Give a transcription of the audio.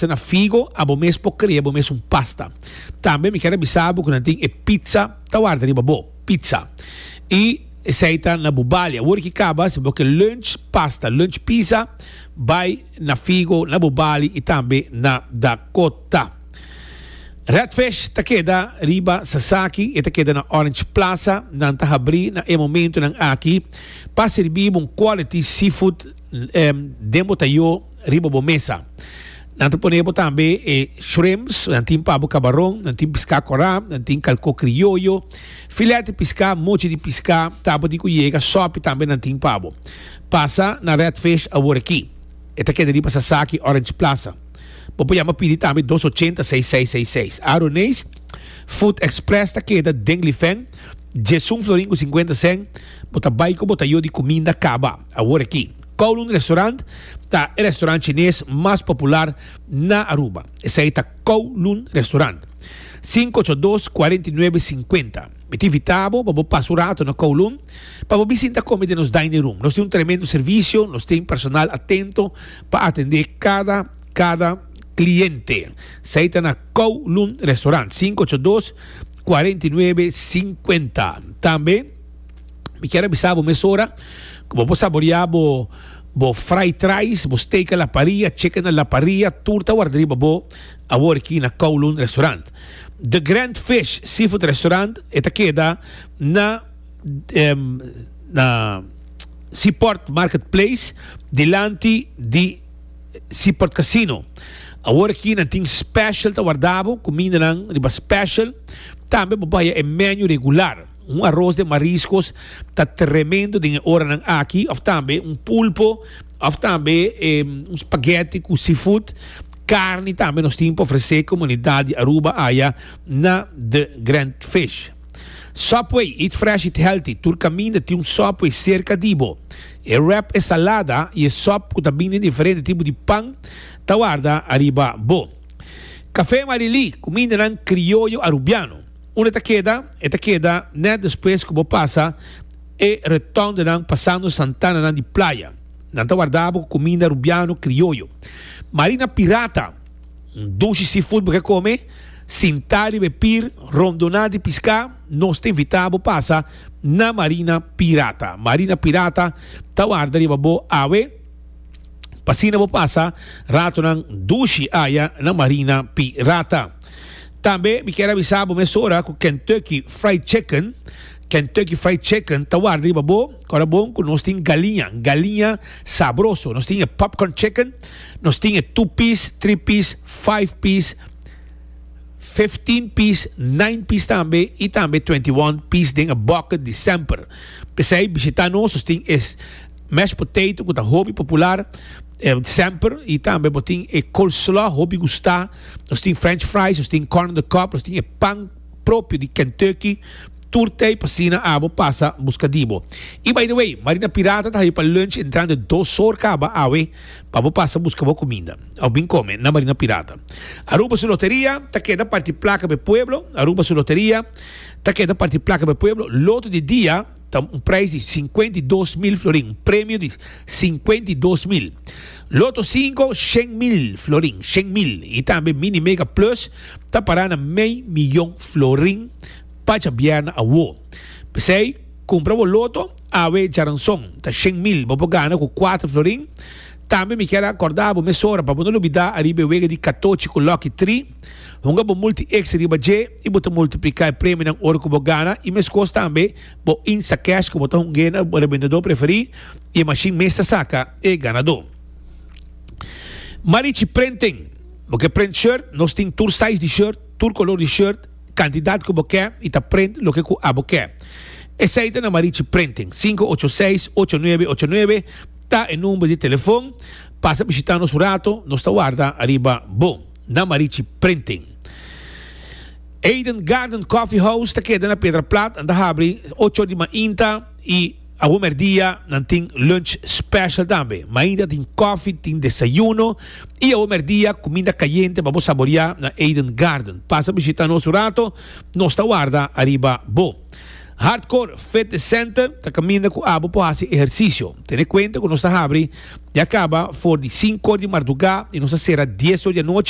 Na Figo abo mes por crea bo mes un pasta. Tambe mi kier a bisa bo cu nan tin e pizza ta warda riba bo. Pizza. Y esey ta na Bubali. Awor ki caba si bo ke lunch pasta, lunch pizza, bay na Figo, na Bubali y tambe na Dakota. Red Fish ta keda riba Sasaki, e ta keda na Orange Plaza. Nan ta habri na e momentonan aki pa sirbi bo un quality seafood den bo tayo. riba bo mesa. Nan ta pone bo tambe e shrimps, nan tin pa bo kabaron, nan tin piská kòrá, nan tin kalkó krioyo, filet di piská, mochi di piská, tapa di ku yega, sòpi tambe nan tin pa bo. Pasa na Red Fish awor aki. E ta keda riba Sasaki Orange Plaza. Bo por yama pidi tambe dos ochenta seis seis seis seis. Aroneis Food Express ta keda den Lifen, djesun florin ku sinkuenta sèn, bo ta bai ku bo tayo di kuminda kaba awor aki. Kowloon Restaurant ta e restaurant chines mas popular na Aruba. Esei ta Kowloon Restaurant. Sinku ocho dos, kuarenta i nuebe, sinkuenta. Mi ta invita bo pa bo pasa un rato na Kowloon pa bo bin sinta kome den nos dining room. Nos tin un tremendo servicio, nos tin personal atento pa atende kada kada cliente. Esei ta na Kowloon Restaurant, sinku ocho dos, kuarenta i nuebe, sinkuenta. Tambe. Mi kier a bisa bo mesora ku bo por saboreá bo bo fried rice, bo steak a la parilla, chicken a la parilla, tur ta warda riba bo awor aki na Kowloon Restaurant. The Grand Fish Seafood Restaurant e ta keda na na Seaport Market Place dilanti di Seaport Casino. Awor aki nan tin special ta warda bo, kumindanan riba special. Tambe bo por haya e menu regular. Un aros den mariscos ta tremendo den e oranan aki, of tambe un pulpo, of tambe un spaghetti cu seafood. Carni tambe nos tin pa ofrece comunidad di Aruba aya na The Grand Fish. Subway, eat fresh, eat healthy. Tur caminda tin un Subway cerca di bo. E wrap, e salada y e sop cu ta bini den diferente tipo di pan ta warda ariba bo. Café Marily, cumindanan crioyo Arubiano. Unda e ta keda? E ta keda nèt despues ku bo pasa e retondenan pasando Santananan di Playa. Nan ta warda bo ku kuminda rubiano krioyo. Marina Pirata, un dushi seafood bo ke kome? Sintá riba e pir rondoná di piská, nos ta invitá bo pasa na Marina Pirata. Marina Pirata ta warda riba bo awe pa asina bo pasa ratonan dushi aya na Marina Pirata. Tambe mi kier avisa bo mesora ku Kentucky Fried Chicken, Kentucky Fried Chicken ta warda riba bo, kòrda bon ku nos tin galiña, galiña sabroso. Nos tin e popcorn chicken, nos tin e two piece, three piece, five piece, 15 piece, nine piece tambe i tambe 21 piece den e bucket di semper. P'esei bishita nos, nos tin e mashed potato ku ta hopi popular semper i tambe bo tin e coleslaw hopi gustá. Nos tin french fries, nos tin corn on the cob, nos tin e pan propio di Kentucky. Tur tei pa asina abo pasa busca di bo. Y by the way, Marina Pirata ta hayo pa lunch entrando dos or caba awe pa bo pasa busca bo cuminda of bin come na Marina Pirata. Aruba su loteria ta keda parti placa pa e pueblo. Aruba su loteria ta keda parti placa pa e pueblo. Loto di dia. Ta un prijs di 52 mil florin, un premio di 52 mil. Loto 5, 100 mil florin, 100 mil. Y tambe Mini Mega Plus ta para na mei miyon florin pa djabièrnè awo. P'esei, kumpra bo loto awe djaranson, ta 100 mil, bo por gana ku 4 florin. Tambe mi kier a kòrda bo mesora pa bo no lubidá ariba e wega di katochi ku Lucky Tree. Hunga bo multi X riba dje i bo ta multipliká e premionan ora ku bo gana i meskos tambe bo Instacash ku bo ta hung'é na bo rebendedó preferí i e mashin mes ta saka e ganadó. Marichi Printing, Bo ke print shirt? Nos tin tur size di shirt, tur kolor di shirt, kantidat ku bo ke i ta print loke ku abo ke. Esei ta na Marichi Printing, sinku ocho seis, ocho nuebe ocho nuebe ta e number di telefon. Pasa bishita nos un rato, nos ta warda ariba bo. na Marichi Printing. Eden Garden Coffee House ta keda na Piedra Plat, nan ta habri ocho or di mainta y awo merdia nan tin lunch special tambe. Mainta tin koffie, tin desayuno y awo merdia cuminda cayente pa bo saboria na Eden Garden. Pasa bishita nos un rato, nos ta warda ariba bo. Hardcore Fitness Center ta kaminda ku abo por hasi ehersisio. Tene kuenta ku nos ta habri ya kaba for di sinku or di mardugá i nos ta sera dies or di anochi.